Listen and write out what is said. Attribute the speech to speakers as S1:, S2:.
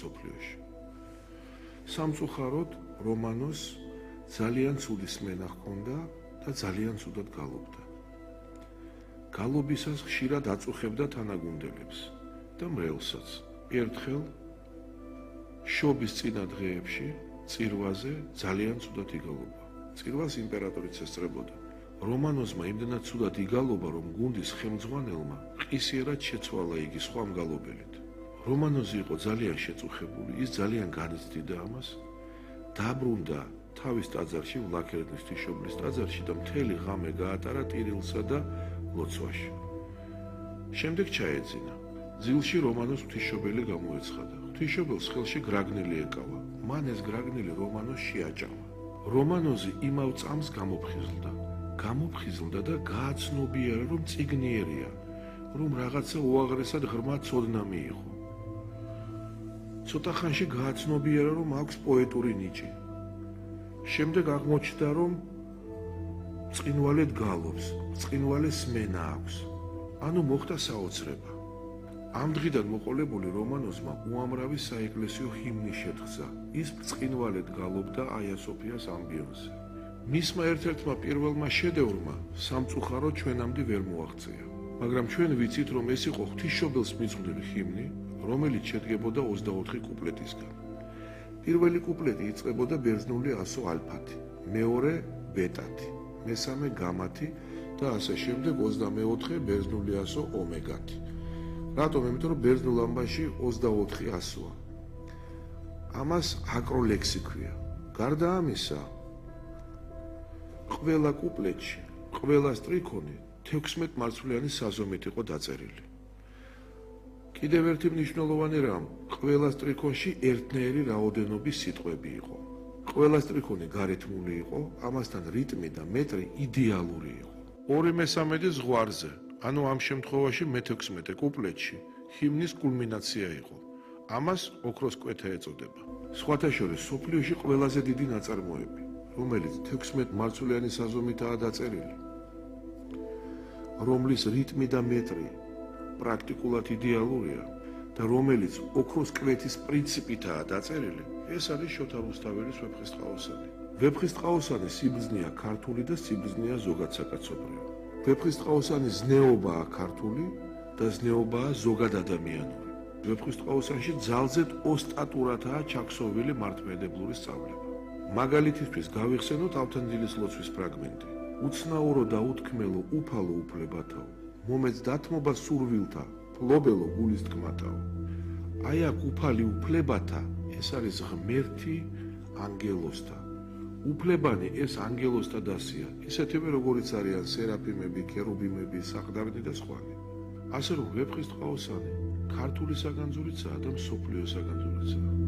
S1: მსოფლიოში. სამწუხაროდ რომანოს ძალიან ცუდი სმენა ჰქონდა და ძალიან ცუდად გალობდა. გალობისას ხშირად აწუხებდა თანაგუნდელებს და მრევლსაც. ერთხელ შობის წინა დღეებში წირვაზე ძალიან ცუდად იგალობა. წირვას იმპერატორიც ესწრებოდა. რომანოზმა იმდენად ცუდად იგალობა, რომ გუნდის ხელმძღვანელმა ყისიერად შეცვალა იგი სხვა მგალობელით. რომანოზი იყო ძალიან შეწუხებული, ის ძალიან განიცდიდა ამას, დაბრუნდა თავის ტაძარში, ვლაქერნის ღვთისმშობლის ტაძარში და მთელი ღამე გაატარა ტირილსა და ლოცვაში. შემდეგ ჩაეძინა. ძილში რომანოს ღვთისმშობელი გამოეცხადა. ღვთისმშობელს ხელში გრაგნილი ეკავა. მან ეს გრაგნილი რომანოს შეაჭამა. რომანოზი იმავ წამს გამოფხიზლდა და გააცნობიერა, რომ წიგნიერია, რომ რაღაცა უაღრესად ღრმა ცოდნა მიიღო. ცოტა ხანში გააცნობიერა, რომ აქვს პოეტური ნიჭი. შემდეგ აღმოჩნდა, რომ წყინვალედ გალობს, წყინვალე სმენა აქვს. ანუ მოხდა საოცრება. ამ დღიდან მოყოლებული რომანოზმა უამრავი საეკლესიო ჰიმნი შეთხზა. ის წყინვალედ გალობდა აია სოფიას ამბიონზე. მისმა ერთ-ერთმა პირველმა შედევრმა სამწუხაროდ ჩვენამდე ვერ მოაღწია. მაგრამ ჩვენ ვიცით, რომ ეს იყო ღვთისმშობელს მიზღვნილი ჰიმნი, რომელიც შედგებოდა 24 კუპლეტისგან. პირველი კუპლეტი იწყებოდა ბერძნული ასო ალფათი, მეორე ბეტათი, მესამე გამათი და ასე შემდეგ 24 ბერძნული ასო ომეგათი. რატომ? იმიტომ რომ ბერძნულ ამბაში 24 ასოა. ამას აკროლექსი ქვია. გარდა ამისა, ყველა კუპლეტში, ყველა სტრიქონი 16 მარცვლიანი საზომით იყო დაწერილი. კიდევ ერთი მნიშვნელოვანი რამ, ყველა სტრიქონში ერთნაირი რაოდენობის სიტყვები იყო. ყველა სტრიქონი გარეთმული იყო, ამასთან რიტმი და მეტრი იდეალური იყო. 2/3 ზღვარზე, ანუ ამ შემთხვევაში მე-16 კუპლეტში ჰიმნის კულმინაცია იყო. ამას ოქროს კვეთა ეწოდება. სხვათა შორის სოფლიოში ყველაზე დიდი ნაწარმოები, რომელიც 16 მარცვლიანი საზომითაა დაწერილი, რომლის რიტმი და მეტრი პრაქტიკულად იდეალურია და რომელიც ოქროს კვეთის პრინციპითაა დაწერილი, ეს არის შოთა რუსთაველის ვეფხისტყაოსანი. ვეფხისტყაოსანის სიბრძნეა ქართული და სიბრძნეა ზოგადსაკაცობრიო. ვეფხისტყაოსანის ზნეობაა ქართული და ზნეობაა ზოგადადამიანური. ვეფხისტყაოსანში ძალზედ ოსტატურადაა ჩაქსოვილი მართლმადიდებლური სწავლება. მაგალითისთვის გავიხსენოთ ავთანდილის ლოცვის ფრაგმენტი. უცნაურო და უთქმელო უფალო უფლებათაო, მომეც დათმობა სურვილთა, ფლობელო გულის თქმათაო. აი აქ უფალი უფლებათა, ეს არის ღმერთი ანგელოსთა. უფლებანი ეს ანგელოსთა დასია, ისეთივე როგორიც არიან სერაფიმები, კერუბიმები, საყდარნი და სხვანი. ასე რომ ვეფხისტყაოსანი ქართული საგანძურიცაა და მსოფლიო საგანძურიცაა.